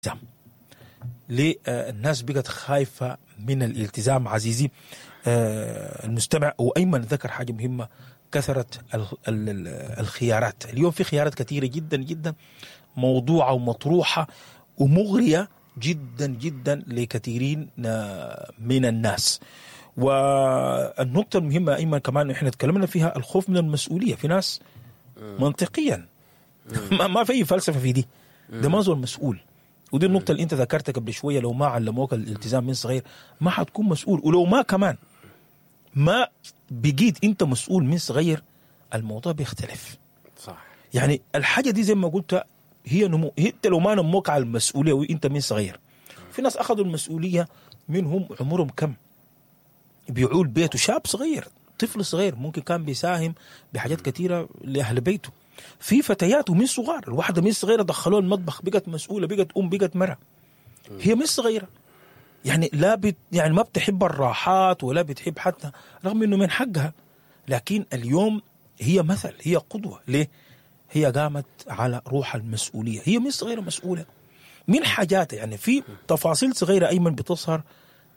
الالتزام. ليه الناس بقت خايفة من الالتزام؟ عزيزي المستمع، وايمن ذكر حاجة مهمه، كثرة الخيارات. اليوم في خيارات كثيرة جدا جدا موضوعه ومطروحه ومغريه جدا جدا لكثيرين من الناس. والنقطة المهمة ايمن كمان احنا تكلمنا فيها، الخوف من المسؤوليه. في ناس منطقيا ما في فلسفة في دي، ده ما زول مسؤول. ودي النقطة اللي أنت ذكرتها قبل شوية، لو ما علموك الالتزام من صغير ما حتكون مسؤول، ولو ما كمان ما بقيت أنت مسؤول من صغير الموضوع بيختلف. صح. يعني الحاجة دي زي ما قلت هي نمو، انت لو ما نموك على المسؤولية وانت من صغير. في ناس اخذوا المسؤولية منهم عمرهم كم؟ بيعول بيته، شاب صغير، طفل صغير، ممكن كان بيساهم بحاجات كثيرة لاهل بيته. في فتيات ومن صغار، الواحدة من صغيرة دخلوها المطبخ، بقت مسؤولة، بقت ام، بقت مرة، هي من صغيرة. يعني لا بت يعني ما بتحب الراحات ولا بتحب حتى، رغم انه من حقها، لكن اليوم هي مثل، هي قدوة. ليه؟ هي قامت على روح المسؤولية، هي من صغيرة مسؤولة من حاجاتها. يعني في تفاصيل صغيرة ايمن بتظهر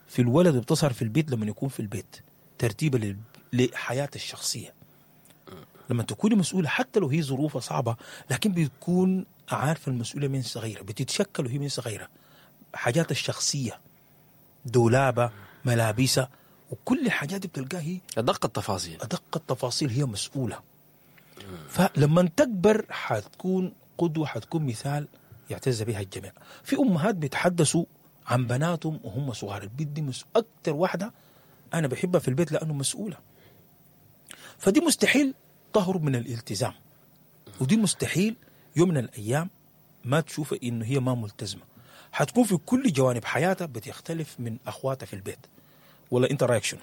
في الولد وبتظهر في البيت لما يكون في البيت، ترتيبا لحياته الشخصية. لما تكوني مسؤولة حتى لو هي ظروفها صعبة، لكن بتكون عارفه المسؤولية من صغيرة، بتتشكل وهي من صغيرة، حاجاتها الشخصية، دولابه، ملابسها، وكل الحاجات دي بتلقاها هي ادق التفاصيل. ادق التفاصيل هي مسؤولة. فلما تكبر حتكون قدوة، حتكون مثال يعتز بها الجميع. في امهات بيتحدثوا عن بناتهم وهم صغار، البنت دي اكثر واحدة انا بحبها في البيت لانه مسؤولة. فدي مستحيل تهرب من الالتزام، ودي مستحيل يوم من الايام ما تشوف انه هي ما ملتزمة. حتكون في كل جوانب حياتها بتختلف من اخواتها في البيت. ولا انت رايك شنو؟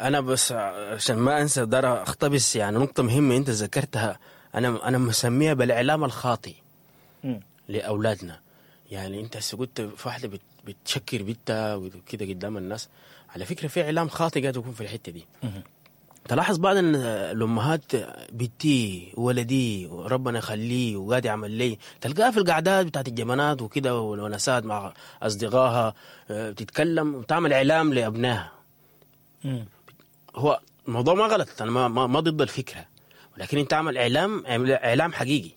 انا بس عشان ما انسى دار اقتبس يعني نقطة مهمة انت ذكرتها، انا مسميها بالاعلام الخاطئ لاولادنا. يعني انت هسه قلت في واحدة بتشكر بنتها وكده قدام الناس، على فكرة في اعلام خاطئ قاعد يكون في الحتة دي. تلاحظ بعض الامهات بنتي ولدي وربنا يخليه وقاعد يعمل لي، تلقاها في القعدات بتاعت الجمانات وكده والونسات مع اصدقائها بتتكلم وتعمل اعلام لابنائها. هو الموضوع ما غلط، انا ما ضد الفكرة، ولكن انت اعمل اعلام، اعلام حقيقي.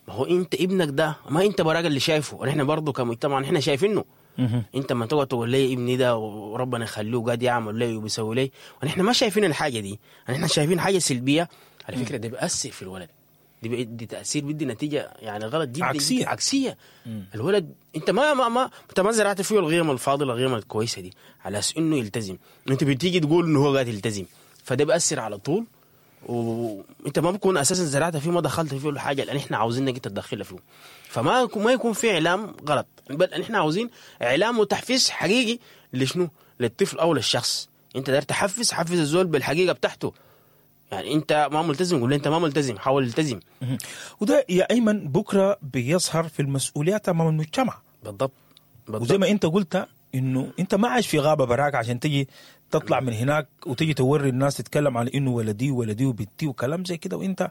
ما هو انت ابنك ده ما انت براك اللي شايفه، ونحن برضه كمجتمع نحن شايفينه. انت ما تقعد تقول لي ابني ده وربنا يخليه وقاعد يعمل لي وبيسوي لي، ونحن ما شايفين الحاجة دي، نحن شايفين حاجة سلبية. على فكرة ده بيأثر في الولد، دي تاثير، بيدي نتيجة يعني غلط جدا، عكسية. عكسية. الولد انت ما ما ما انت ما زرعت فيه القيم الفاضلة، القيم الكويسة دي على اساس انه يلتزم. انت بتيجي تقول انه هو قاعد يلتزم، فده بيأثر على طول، وانت ما بكون اساسا زرعت فيه، ما دخلت فيه الحاجة اللي احنا عاوزينك انت تدخلها فيه. فما ما يكون في اعلام غلط، بل احنا عاوزين اعلام وتحفيز حقيقي لشنو؟ للطفل او للشخص. انت داير تحفز، حفز الزول بالحقيقة بتاعته. يعني انت ما ملتزم، قول له انت ما ملتزم، حاول التزم. وده يا ايمن بكره بيظهر في المسؤوليات امام المجتمع. بالضبط بالضبط. وزي ما انت قلت انه انت ما عايش في غابه براك عشان تجي تطلع من هناك وتجي توري الناس، تتكلم على انه ولدي ولدي وبنتي وكلام زي كده، وانت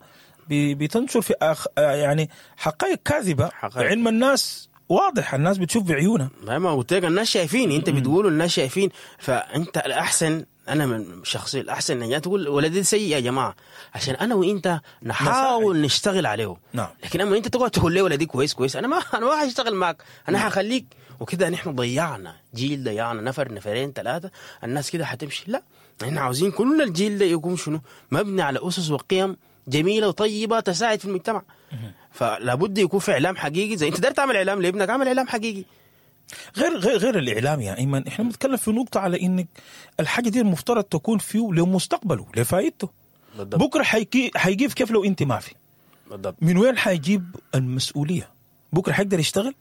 بتنشر في يعني حقائق كاذبة. حقائق. علم الناس واضح، الناس بتشوف بعيونها. ما قلت لك الناس شايفين، انت بتقول الناس شايفين، فانت الاحسن، انا من شخصي الاحسن ان تقول ولدي سيء يا جماعة، عشان انا وانت نحاول نشتغل عليه. لكن اما انت تقعد تقول لي ولدي كويس كويس، انا ما حاشتغل معك، انا حخليك وكده. نحن ضيعنا جيل، ضيعنا نفر، نفرين، ثلاثه، الناس كده حتمشي. لا، احنا عاوزين كل الجيل ده يكون شنو؟ مبني على اسس وقيم جميلة وطيبة تساعد في المجتمع. فلا بد يكون في اعلام حقيقي. زي انت داير تعمل اعلام لابنك، اعمل اعلام حقيقي. غير الاعلام يا ايمن، احنا بنتكلم في نقطة على انك الحاجة دي المفترض تكون فيه لمستقبله، لفائدته. بكره حيجيب كيف لو انت ما في؟ من وين حيجيب المسؤولية؟ بكره حيقدر يشتغل؟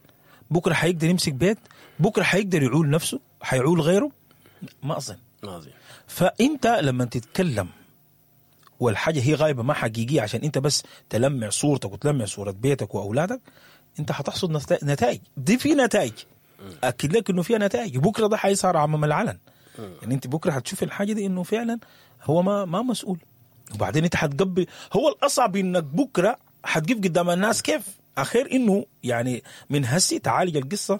بكره حيقدر يمسك بيت؟ بكره حيقدر يعول نفسه؟ حيعول غيره؟ ما اظن. ما اظن. فانت لما تتكلم والحاجة هي غايبة ما حقيقيه، عشان انت بس تلمع صورتك وتلمع صوره بيتك واولادك، انت حتحصد نتائج. دي في نتائج، اكد لك انه فيها نتائج. بكره ده حيظهر امام العلن. يعني انت بكره حتشوف الحاجة دي انه فعلا هو ما مسؤول. وبعدين انت حتقبل، هو الاصعب انك بكره حتقف قدام الناس كيف؟ اخير انه يعني من هسي تعالج القصة.